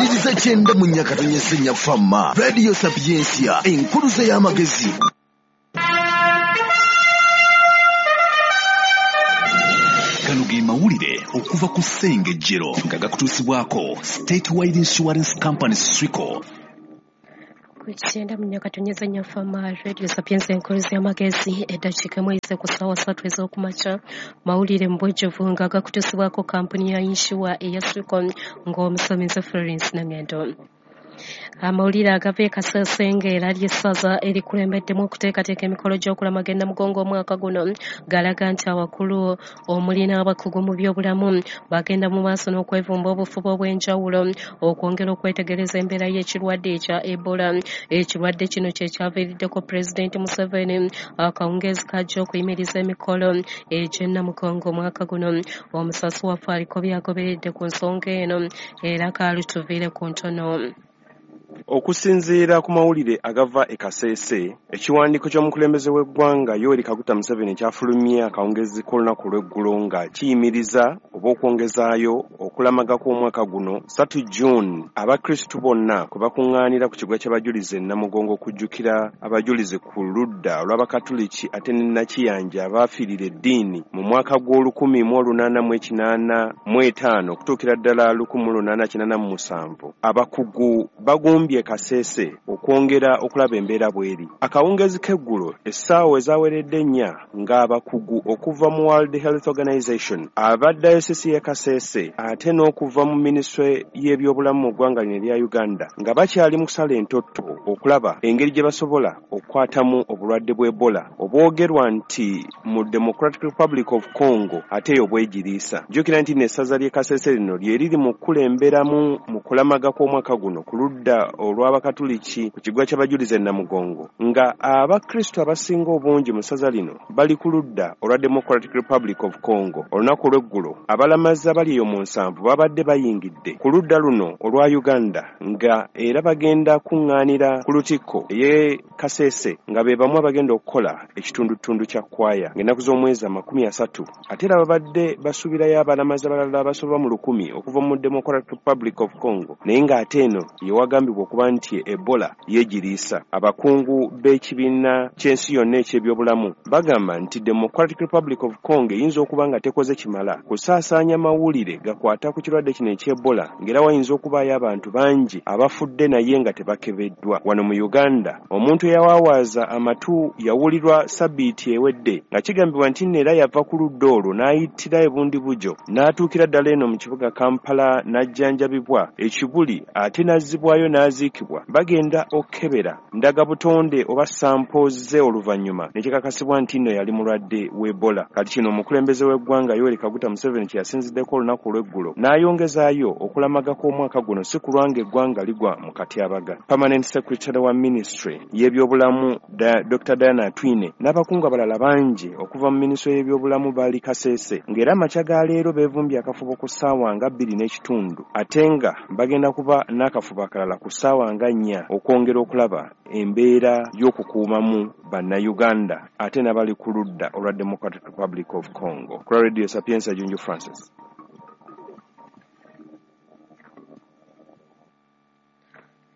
Wuliriza 94 4 Fama Radio Sapientia, enkuluze y'amagezi. Gano ge mawulire okuva ku Ssengejjero nga gakutuusibwako Statewide Insurance Company SWICO. 94 Fama Radio Sapientia, enkuluze y'amagezi. Eddakiika emu ku ssaawa 3 ez'okumakya. Mawulire mu bujjuvu nga gakutuusibwako kampuni ya yinsuwa eya SWICO, ng'omusomesa Florence Nangendo. Amawulire agava e Kasese ng'era ly'essaza erikulembeddemu okuteekateeka emikolo gy'okulamaga e Namugongo omwaka guno galaga nti abakulu omuli n'abakugu mu byobulamu bagenda mu maaso n'okwevumba obufuba obw'enjawulo okwongera okwetegereza embeera y'ekirwadde ekya Ebola. Ekirwadde kino kye kyaviiriddeko Pulezidenti Museveni akawungeezi kajja okuyimiriza emikolo egy'e Namugongo omwaka guno. Omusasi waffe aliko by'agoberedde ku nsonga eno era kaalutuviire ku ntono. Okusinziira ku mawulire agava e Kasese, ekiwandiiko ky'omukulembeze w'eggwanga Yoweri Kaguta Museveni kyafulumye akawungeezi k'olunaku olw'eggulo nga kiyimiriza oba okwongezaayo okulamaga kw'omwaka guno 3 June abakristu bonna kwe bakuŋŋaanira ku kiggwa ky'abajulizi e Namugongo okujjukira abajulizi ku ludda olw'Abakatuliki ate ne Nakiyanja abaafiirira eddiini mu mwaka gw'o1885 okutuukira ddala 1887. Abakugu bagumbye Kasese okwongera okulaba embeera bw'eri. Akawungeezi k'eggulo essaawa ezaaweredde 4 ng'abakugu okuva mu World Health Organization, aba dayosisi y'e Kasese ate n'okuva mu minisitule y'ebyobulamu mu ggwanga lino erya Uganda nga bakyali mu kusala entotto okulaba engeri gye basobola okukwatamu obulwadde bw'Ebola obwogerwa nti mu Democratic Republic of Congo ate eyo bwegiriisa. Jjukira nti n'essaza ly'e Kasese lino lye riri mu kukulemberamu mu kulamaga kw'omwaka guno ku ludda olw'Abakatuliki ku kiggwa ky'abajulizi e Namugongo, nga abakristu abasinga obungi mu ssaza lino bali ku ludda olwa Democratic Republic of Congo. Olunaku olw'eggulo abalamazi abali eyo mu 7 babadde bayingidde ku ludda luno olwa Uganda nga era bagenda kuŋŋaanira ku lutikko ey'e Kasese nga be bamu abagenda okukola ekitundutundu kya kwaya ng'ennaku z'omwezi 30. Ate era babadde basuubirayo abalamazi abalala abasoba mu 1000 okuva mu Democratic Republic of Congo, naye ng'ate eno ye wagambibwa okuba nti Ebola yeegiriisa. Abakungu b'ekibiina ky'ensi yonna eky'ebyobulamu bagamba nti Democratic Republic of Congo eyinza okuba nga tekoze kimala kusaasaanya mawulire gakwata ku kirwadde kino eky'Ebola, ng'era wayinza okubaayo abantu bangi abafudde naye nga tebakebeddwa. Wano mu Uganda omuntu eyawaawaaza amatu yawulirwa sabbiiti ewedde nga kigambibwa nti nno era yava ku ludda olwo n'ayitira ebundibujo n'atuukira ddala eno mu kibuga Kampala n'ajjanjabibwa ekibuli ate n'azzibwayo n'aziikibwa. Bagenda okukebera ndagabutonde oba sampo ze oluvannyuma ne kikakasibwa nti nno yali mulwadde w'Ebola. Kati kino omukulembeze w'eggwanga Yoweri Kaguta Museveni kye yasinziddeko olunaku olw'eggulo n'ayongezaayo okulamaga kw'omwaka guno si kulwa ng'eggwanga ligwa mu katyabaga. Permanent Secretary wa Ministry y'ebyobulamu Dr. Diana Atwine n'abakungu abalala bangi okuva mu minisitule y'ebyobulamu bali Kasese, ng'era amakya ga leero beevumbye akafubo ku ssaawa nga 2:30 ate nga bagenda kuba n'akafubo akalala ku ssaawa nga 4 okwongera okulaba embeera y'okukuumamu bannayuganda ate n'abali ku ludda olwa Democratic Republic of Congo. Ku Radio Sapientia, Junju Francis.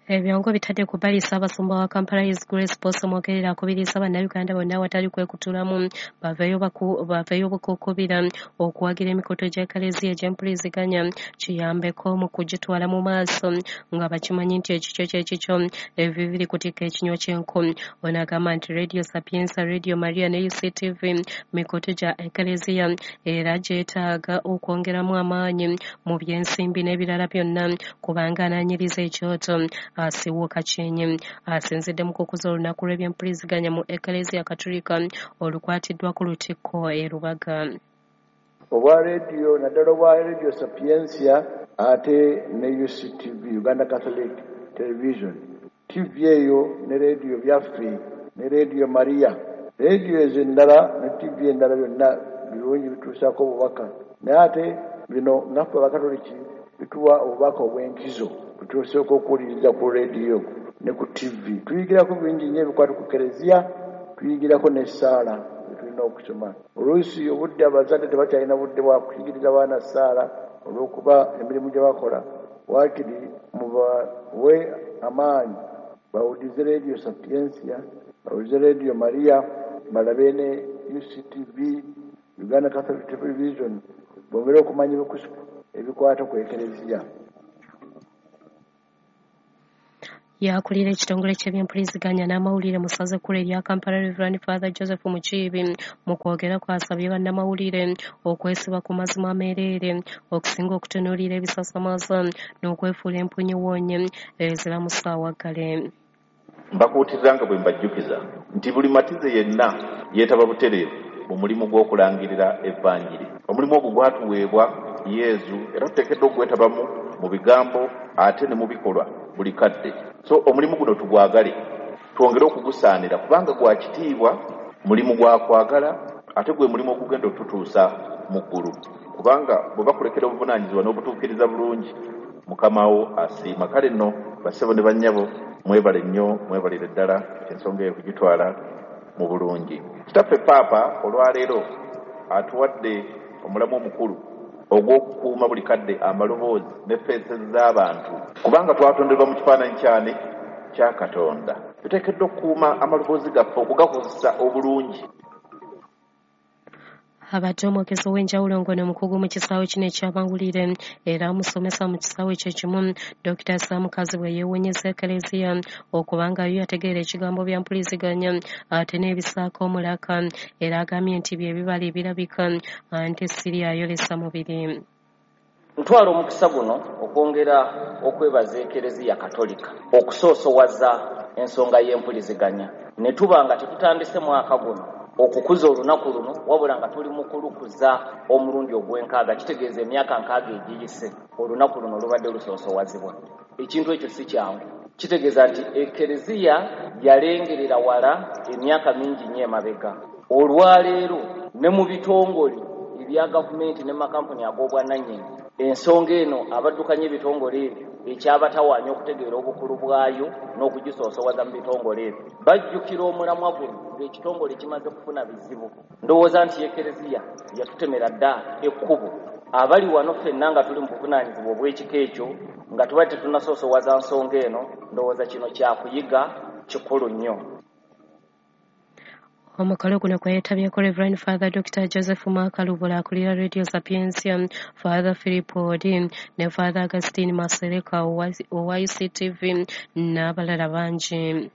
Ebyongo bitadde ku bbali Ssaabasumba wa Kampala His Grace Paul Ssemwogerere akubiriza bannayuganda bonna awatali kwekutulamu baveeyo bukukubira okuwagira emikutu gy'Eklezia egy'empuliziganya kiyambeko mu kugitwala mu maaso nga bakimanyi nti ekikyo ky'ekikyo ebyo biri kutikka ekinywa ky'enku. Ono agamba nti Radio Sapientia, Radio Maria ne UCTV mikutu gya Eklezia era gyetaaga okwongeramu amaanyi mu by'ensimbi n'ebirala byonna kubanga anaanyiriza ekyoto asiwuuka kyenyi. Asinzidde mu kukuza olunaku lw'ebyempuliziganya mu Eklezia Katolika olukwatiddwa ku lutikko e Lubaga. Obwa rediyo naddala obwa Radio Sapientia ate ne UCTV, Uganda Catholic Television, TV eyo ne rediyo byaffe ne Radio Maria, rediyo ezo endala ne TV endala byonna birungi bituusaako obubaka, naye ate bino naffe Abakatoliki bituwa obubaka obw'enkizo butuuseeko okuwuliriza ku rediyo ne ku TV. Tuyigirako bingi nnyo ebikwata ku Kereziya, tuyigirako n'essaala tulina okusoma. Oluusi obudde abazadde tebakyalina budde bwa kuyigiriza baana ssaala olw'okuba emirimu gye bakola Waakiri mubawe amaanyi bawulize Radio Sapientia, bawulize Radio Maria, balabe ne UCTV, Uganda Catholic Television, bongere okumanya ebikwata ku Ekereziya. Yakulira ekitongole ky'ebyempuliziganya n'amawulire mu ssaza ekkulu erya Kampala, Reverend Father Joseph Mukiibi, mu kwogera kwasabye bannamawulire okwesiba ku mazima ameereere okusinga okutunuulira ebisasamaza n'okwefuula empunyiwonye ezira mu ssaawa ggale. Mbakuutiriza nga bwe mbajjukiza nti buli matize yenna yeetaba butereevu mu mulimu gw'okulangirira evvanjiri. Omulimu ogwo gwatuweebwa Yezu era tuteekeddwa okugwetabamu mu bigambo ate ne mu bikolwa buli kadde. So omulimu guno tugwagale, twongere okugusaanira kubanga gwa kitiibwa, mulimu gwa kwagala ate gwe mulimu ogugenda otutuusa mu ggulu, kubanga bwe bakulekera obuvunaanyizibwa n'obutuukiriza bulungi, Mukama wo asiima. Kale nno bassebo ne bannyabo, mwebale nnyo, mwebalire ddala ensonga eyo kugitwala mu bulungi. Kitaffe Paapa olwaleero atuwadde omulamu omukulu ogw'okukuuma buli kadde amaloboozi ne feesi z'abantu, kubanga twatonderwa mu kifaananyi kyane kya Katonda. Tuteekeddwa okukuuma amaloboozi gaffe okugakozesa obulungi. Abadde omwogezi ow'enjawulo ng'ono mukugu mu kisaawe kino eky'amawulire era amusomesa mu kisaawe kye kimu, Dr. Sam Kazibwe yeewuunyizza Ekereziya okubanga yo yategeera ekigambo bya mpuliziganya ate n'ebisaako omulaka, era agambye nti bye bibala ebirabika anti siri ayolesa mubiri. Ntwala omukisa guno okwongera okwebaza Ekereziya Katolika okusoosowaza ensonga y'empuliziganya ne tuba nga tetutandise mwaka guno okukuza olunaku luno, wabula nga tuli mu kulukuza omulundi ogw'enkaaga, kitegeeza emyaka 6 egiyise olunaku luno lubadde lusoosowazibwa. Ekintu ekyo si kyangu, kitegeeza nti Ekereziya yalengerera wala emyaka mingi nnyo emabega. Olwaleero ne mu bitongole ebya gavumenti ne makampuni ag'obwannannyini, ensonga eno abaddukanya ebitongole ebyo ekyabatawaanya okutegeera obukulu bwayo n'okugisoosowaza mu bitongole ebyo bajjukira omulamwa guno ng'ekitongole kimaze kufuna bizibu. Ndowooza nti Ekereziya yatutemera dda ekkubo. Abali wano ffenna nga tuli mu buvunaanyizibwa obw'ekika ekyo nga tuba tetunnasoosowaza nsonga eno, ndowooza kino kyakuyiga kikulu nnyo. Omukolo guno gweyetabyeko Reverend Father Dr. Joseph Makalubula akulira Radio Sapientia, Father Philip Odi ne Father Augustine Masereka owa UCTV n'abalala bangi.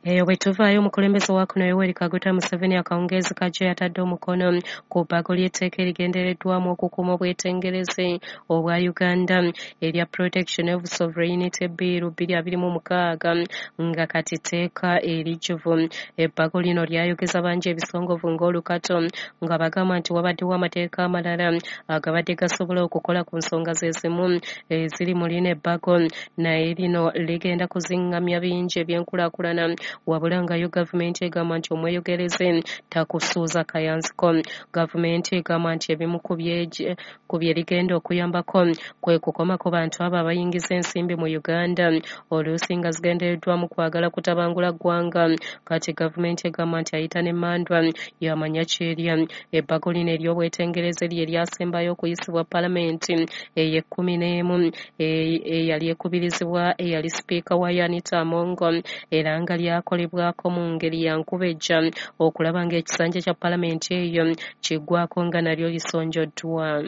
Eyo bwe tuvaayo, omukulembeze wa kuno Yoweri Kaguta Museveni akawungeezi kajjo yatadde omukono ku bbago ly'etteeka erigendereddwamu okukuuma obwetengereze obwa Uganda erya Protection of Sovereignty Bill 2026 nga kati tteeka erijjuvu. Ebbago lino lyayogeza bangi ebisongovu ng'olukato nga bagamba nti wabaddewo amateeka amalala agabadde gasobola okukola ku nsonga ze zimu eziri mu lino ebbago, naye lino ligenda kuzingamya bingi ebyenkulaakulana. Wabula nga yo gavumenti egamba nti omweyogereze takusuuza kayanziko. Gavumenti egamba nti ebimu ku bye ligenda okuyambako kwe kukomako bantu abo abayingiza ensimbi mu Uganda oluusi nga zigendereddwamu kwagala kutabangula ggwanga. Kati gavumenti egamba nti ayita n'emmandwa yamanya kyerya. Ebbago lino ery'obwetengereze lye lyasembayo okuyisibwa palamenti ey'e11 eyali ekubirizibwa eyali sipiika wa Anita Among, era nga lyakolebwako mu ngeri ya nkubejja okulaba ng'ekisanja kya palamenti eyo kiggwako nga nalyo lisonjoddwa.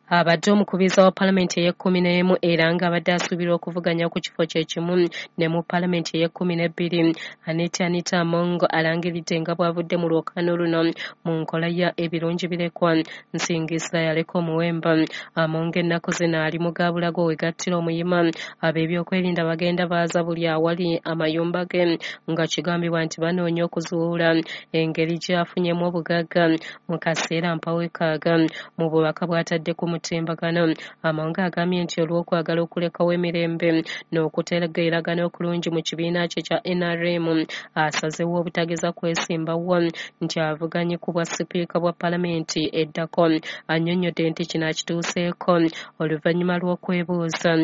Abadde omukubiriza wa palamenti ey'e11 era ng'abadde asuubirwa okuvuganya ku kifo kye kimu ne mu palamenti ey'e12, Anita Among alangiridde nga bw'avudde mu lwokaano luno mu nkola ya ebirungi birekwa Nsingisa yaleka omuwemba. Among ennaku zino ali mu gaabulago wegattira omuyima. Ab'ebyokwerinda bagenda baaza buli awali amayumba ge nga kigambibwa nti banoonya okuzuula engeri gy'afunyemu obugagga mu kaseera mpawekaaga. Mu bubaka bw'atadde ku mutimbagano, Among agambye nti olw'okwagala okulekawo emirembe n'okutegeeragana okulungi mu kibiina kye kya NRM, asazeewo obutageza kwesimbawo nti avuganye ku bwa sipiika bwa palamenti eddako. Annyonnyodde nti kino akituuseeko oluvannyuma lw'okwebuuza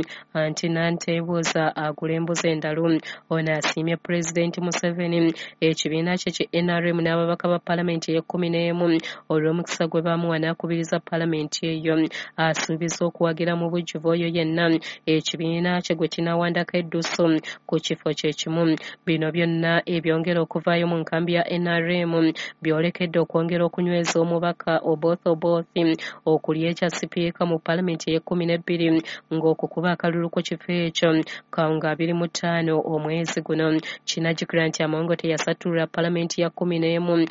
nti nanteebuuza agula embuzi endalu. Ono asiimye Pulezidenti Museveni, ekibiina kye ki NRM n'ababaka ba palamenti ey'e11 olw'omukisa gwe baamuwa n'akubiriza palamenti eyo Asuubiza okuwagira mu bujjuvu oyo yenna ekibiina kye gwe kinawandako eddusu ku kifo kye kimu. Bino byonna ebyongera okuvaayo mu nkambi ya NRM byolekedde okwongera okunyweza omubaka Oboth Oboth okulya ekya sipiika mu palamenti ey'e-12 ng'okukuba akalulu ku kifo ekyo nga 25 omwezi guno. Kinajjukira nti Among teyasattulula palamenti ya 11.